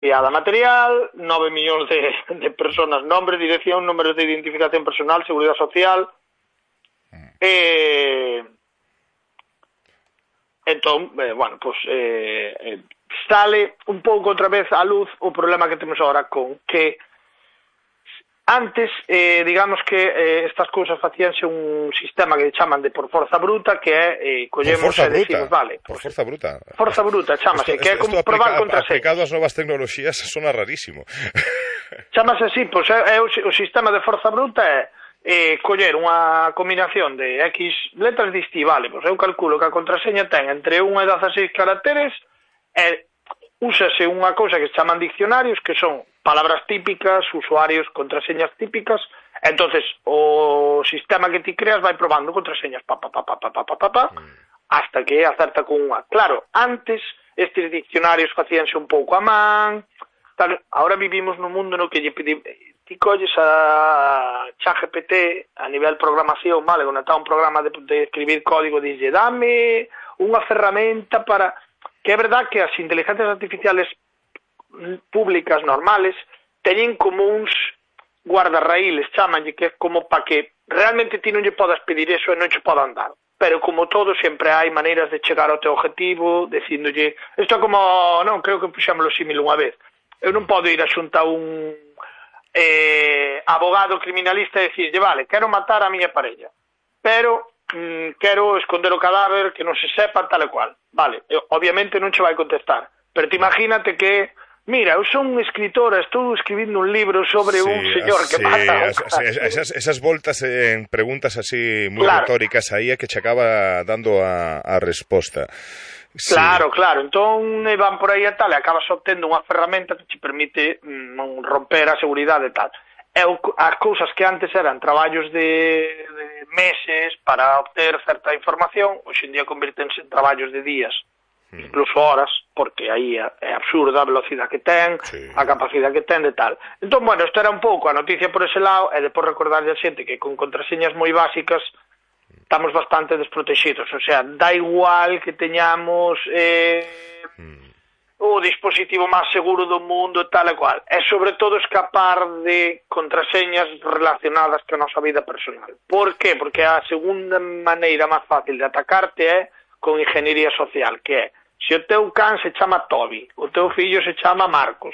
Piada material, 9 millóns de personas, nombre, dirección, números de identificación personal, seguridad social. Entón, bueno, pues sale un pouco outra vez á luz o problema que temos agora con que antes, digamos que estas cousas facíanse un sistema que chaman de por forza bruta, que é collemos e decimos, vale, por forza bruta. Forza bruta, chamase, que é como probar contraseñas. Aplicado ás novas tecnoloxías sona rarísimo. Chamase así, pois é o sistema de forza bruta é coller unha combinación de X letras e diste, vale, pois eu calculo que a contraseña ten entre 1 e 16 caracteres e úsase unha cousa que se chaman diccionarios, que son palabras típicas, usuarios, contraseñas típicas. Entonces o sistema que ti creas vai probando contraseñas hasta que acerta con unha. Claro, antes estes diccionarios facíanse un pouco a man, tal. Ahora vivimos nun mundo no que ti colles a ChatGPT a nivel programación, vale, quando está un programa de escribir código, dixlle, dame unha ferramenta para... Que é verdad que as inteligencias artificiales públicas normales teñen como uns guardarraíles, chamanlle, que é como para que realmente ti non lle podas pedir eso e non che podan dar. Pero como todo, sempre hai maneiras de chegar ao teu objetivo, dicíndolle... Isto é como... Non, creo que puxámoslo símil unha vez. Eu non podo ir a xuntar un abogado criminalista e dicirlle, vale, quero matar a miña parella, pero... quero esconder o cadáver, que non se sepa tal e cual. Vale, obviamente non che vai contestar, pero te imagínate que mira, eu son escritora, estou escribindo un libro sobre un señor que mata esas voltas en preguntas así moi retóricas aí é que che acaba dando a resposta. Sí. Claro, entón van por aí e tal, e acabas obtendo unha ferramenta que te permite romper a seguridade e tal. As cousas que antes eran traballos de meses para obter certa información, hoxe en día convirtense en traballos de días, incluso horas, porque aí é absurda a velocidade que ten, a capacidade que ten de tal. Entón, bueno, isto era un pouco a noticia por ese lado, e depois recordarlle a xente que con contraseñas moi básicas estamos bastante desprotegidos, o sea, da igual que teñamos o dispositivo máis seguro do mundo, tal e cual. É sobre todo escapar de contraseñas relacionadas con a nosa vida personal. Por qué? Porque a segunda maneira máis fácil de atacarte é con ingeniería social, que é, se o teu can se chama Toby, o teu fillo se chama Marcos,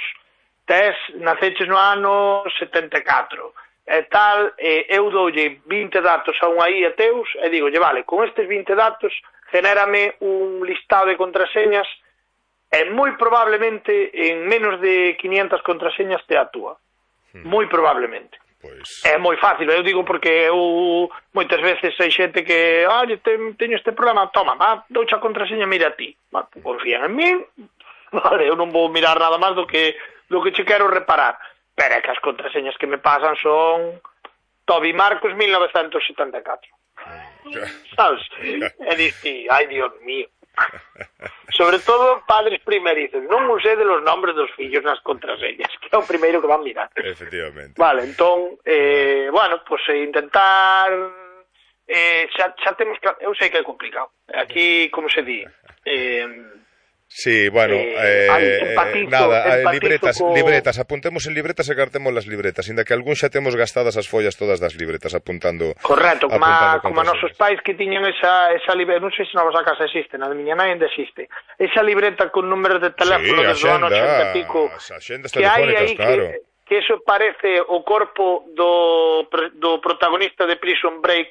naceches no ano 74, e tal, eu doulle 20 datos a unha IA teus, e digo, vale, con estes 20 datos, genérame un listado de contraseñas e moi probablemente en menos de 500 contraseñas te atúa. Moi probablemente. Pois... É moi fácil, eu digo porque eu moitas veces hai xente que teño este problema, toma, douche a contraseña, mira a ti. Confían en min, vale, eu non vou mirar nada máis do que che quero reparar. Pero é que as contraseñas que me pasan son Toby Marcos 1974. Sabes? E diste, ai, Dios mío. Sobre todo padres primerizos, non usé de los nombres dos fillos nas contraseñas, que é o primeiro que van mirar. Efectivamente. Vale, entón, bueno, pues intentar xa temos que... Eu sei que é complicado. Aquí, como se di... Sí, bueno, libretas, apuntemos en libretas e cartemos las libretas, inda que algún xa temos gastadas as follas todas das libretas apuntando. Correcto, como a nosos pais que tiñan esa libreta, non sei se na vosa casa existe, na de miña nai ainda existe, esa libreta con números de teléfono desde o ano 80 e pico, que hai aí claro. Que eso parece o corpo do protagonista de Prison Break.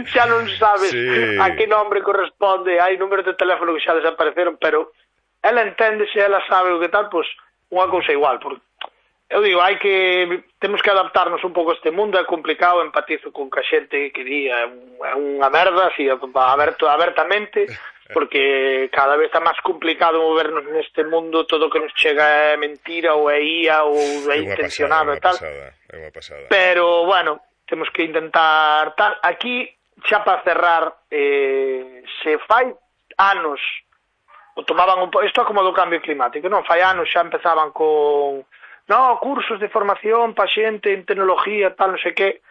Xa non sabes a que nombre corresponde, hai números de teléfono que xa desapareceron, pero ela entende, se ela sabe o que tal, pois unha cousa igual, porque eu digo, temos que adaptarnos un pouco a este mundo, é complicado, empatizo con que a xente que di é unha merda, así, abertamente, porque cada vez está máis complicado movernos neste mundo, todo o que nos chega é mentira ou é IA ou é intencionado e tal. É unha pasada. Pero, bueno, temos que intentar tal. Aquí, xa para cerrar, se fai anos o tomaban un pouco, isto é como do cambio climático, non? Fai anos xa empezaban con cursos de formación para xente en tecnología, tal, non sei que.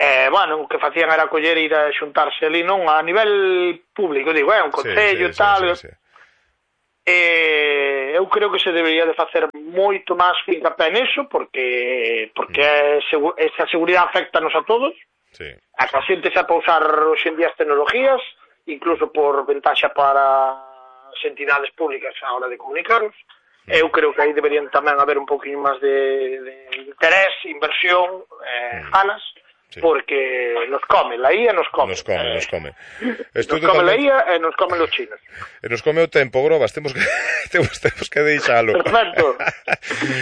Bueno, o que facían era coller e ir a xuntarse ali, non? A nivel público, digo, un concello e tal. eu creo que se debería de facer moito máis fincapé neso, porque esa seguridade afecta-nos a todos. Sí. A xente xa para usar hoxe en día as tecnologías, incluso por ventaxa para as entidades públicas a hora de comunicarnos. Eu creo que aí deberían tamén haber un poquinho máis de interés, inversión, ganas, sí. Porque nos come, la IA nos come. Nos come. Nos come la IA e nos come los chinos. E nos come o tempo, Grobas, temos que deixalo. Perfecto.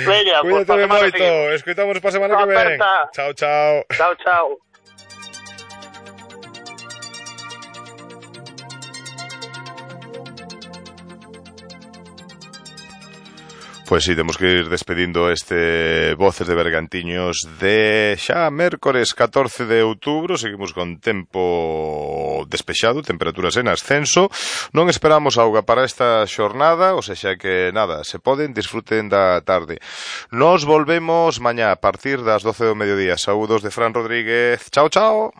Veña, cuídate moito, escoitamos para a semana que ven. Chao, chao. Chao, chao. Pois sí, temos que ir despedindo este Voces de Bergantiños de xa mércores 14 de outubro. Seguimos con tempo despexado, temperaturas en ascenso. Non esperamos auga para esta xornada, ou sexa que nada, se poden, disfruten da tarde. Nos volvemos mañá a partir das 12 do mediodía. Saúdos de Fran Rodríguez. Chao, chao.